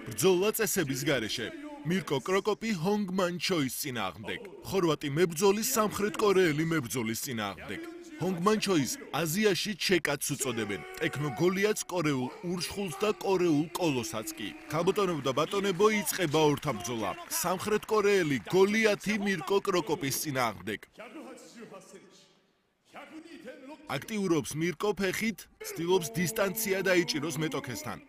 ბრძოლა წესების გარეშე. მირკო კროკოპი ჰონგმან ჩოის წინააღმდეგ. ხორვატი მებრძოლის სამხრეთ კორეელი მებრძოლის წინააღმდეგ. ჰონგმან ჩოის აზიაში ჩეკაც უწოდებენ. ტექნო გოლიათს კორეულ ურშხულს და კორეულ კოლოსაც კი. ქალბატონებო და ბატონებო იწყება ორთაბრძოლა. სამხრეთ კორეელი გოლიათი მირკო კროკოპის წინააღმდეგ. აქტიურობს მირკო ფეხით, ცდილობს დისტანცია დაიჭიროს მეტოქესთან.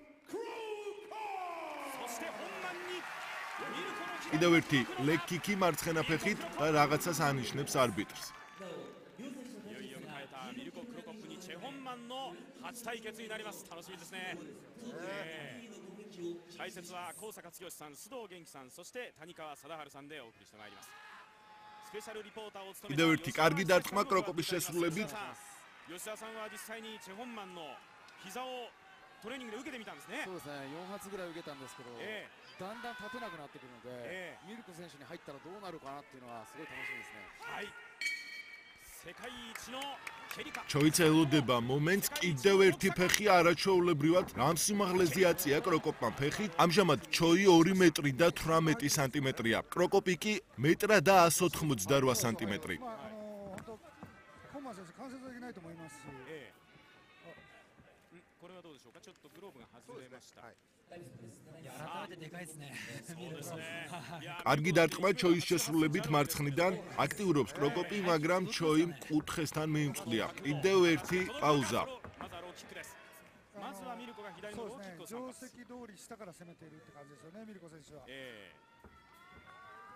კიდევ ერთი ლეგ-კიკი მარცხენა ფეხით და რაღაცას ანიშნებს არბიტრს. კიდევ ერთი კარგი დარტყმა კროკოპის შესრულებით. 吉田さんは実際にチェホンマンの膝をトレーニングで受けてみたんですね。そうですね、4発ぐらい受けたんですけど、だんだん立てなくなってくるので、ミルコ選手に入ったらどうなるかなっていうのはすごい楽しみですね。はい。世界一の蹴りか。ჩოიც ელოდება მომენტს კიდევ ერთი ფეხი არაჩვეულებრივად რამ სიმაღლეზე აწია კროკოპმა ფეხით. ამჟამად ჩოი 2 მეტრი და 18 სანტიმეტრია. კროკოპი კი 1 მეტრ და 188 სანტიმეტრი. 関節だけないと思いますし、これはどうでしょうか。ちょっとグローブが外れました。改めてでかいですね。そうですね。კარგი დარტყმა ჩოის შესრულებით მარცხნიდან აქტიურობს კროკოპი, მაგრამ ჩოი კუთხესთან მიიმწყლია. კიდევ ერთი პაუზა. まずはローキックです。まずはミルコが左のローキックを定参加。石通り下から攻めているって感じですよね、ミルコ選手は。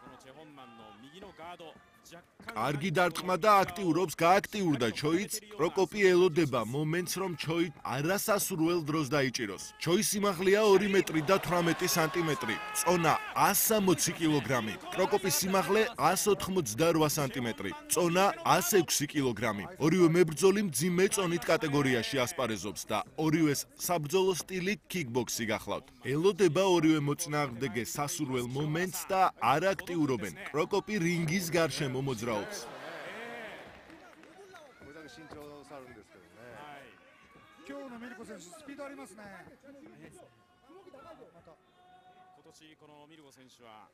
このチェホンマンの右のガード若干 კარგი დარტყმა და აქტიურობს, გააქტიურდა ჩოიც. კროკოპი ელოდება მომენტს, რომ ჩოი არასასურველ დროს დაიჭიროს. ჩოის სიმაღლეა 2 მეტრი და 18 სანტიმეტრი. წონა 160 კილოგრამი. კროკოპის სიმაღლე 188 სანტიმეტრი. წონა 106 კილოგრამი. ორივე მებრძოლი მძიმე წონით კატეგორიაში ასპარეზობს და ორივეს საბრძოლო სტილი კიკბოქსი გახლავთ. ელოდება ორივე მოწინააღმდეგე სასურველ მომენტს და არ აქტიურობენ. კროკოპი რინგის გარშემო მოძრაობს. 今日のミルコ選手スピードありますね。今年このミルコ選手は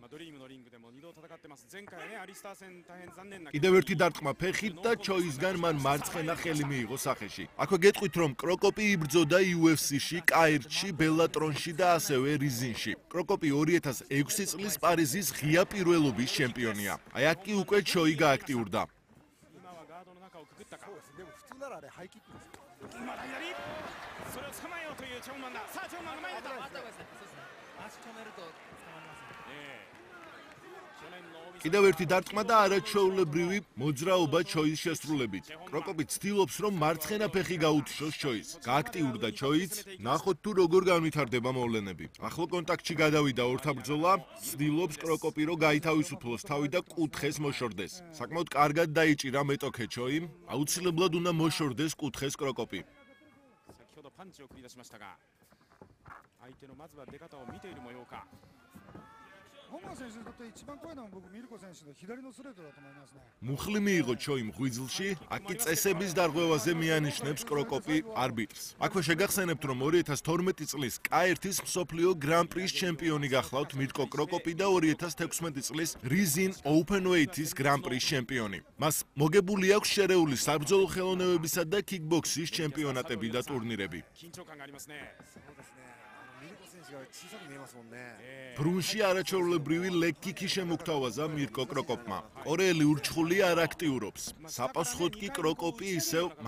ドリームのリングでも2度戦ってます。前回はねアリスター戦大変残念な კიდევ ერთი დარტყმა ფეხით და ჩოისგან მან მარცხენა ხელი მიიღო სახეში. აქვე გეტყვით, რომ კროკოპი იბრძოდა UFC-ში, კაირჩში, ბელატრონში და ასევე რიზინში. კროკოპი 2006 წლის პარიზის ღია პირველობის ჩემპიონია. აი აქ კი უკვე ჩოი გააქტიურდა. 今はガードの中をくぐったか。でも普通ならあれハイキックです。まだ左。それを捕まえようというチェホンマンだ。さあチェホンマンが前に出た。そうですね。足止めると捕まりますね。去年の კიდევ ერთი დარტყმა და არაჩვეულებრივი მოძრაობა ჩოის შესრულებით. კროკოპი ცდილობს, რომ მარცხენა ფეხი გაუთიშოს ჩოის. გააქტიურდა ჩოიც, ნახოთ თუ როგორ განვითარდება მოვლენები. ახლო კონტაქტში გადავიდა ორთაბრძოლა, ცდილობს კროკოპი, რომ გაითავისუფლოს თავი და კუთხეს მოშორდეს. საკმაოდ კარგად დაიჭირა მეტოქე ჩოიმ, აუცილებლად უნდა მოშორდეს კუთხეს კროკოპი. 先ほどパンチを繰り出しましたが、相手のまずは出方を見ている模様か。本間選手にとって一番怖いのは僕ミルコ選手の左のストレートだと思いますね。 მუხლი მიიღო ჩოიმ ღვიძლში, აქ კი წესების დარღვევაზე მიანიშნებს კროკოპი არბიტრს. აქვე შეგახსენებთ, რომ 2012 წლის K1-ის მსოფლიო გრან-პრის ჩემპიონი გახლავთ მირკო კროკოპი და 2016 წლის რიზინ ოპენვეითის გრან-პრის ჩემპიონი. მას მოგებული აქვს შერეული საბრძოლო ხელოვნებებისა და კიკბოქსის ჩემპიონატები და ტურნირები. 緊張感がありますね。そうですね、ミルコ選手が小さく見えますもんね。 ბრუნში არაჩვეულებრივი ლეგ-კიკი შემოგთავაზა მირკო კროკოპმა. კორეელი ურჩხული არ აქტიურობს. საპასუხოდ კი კროკოპი ისევ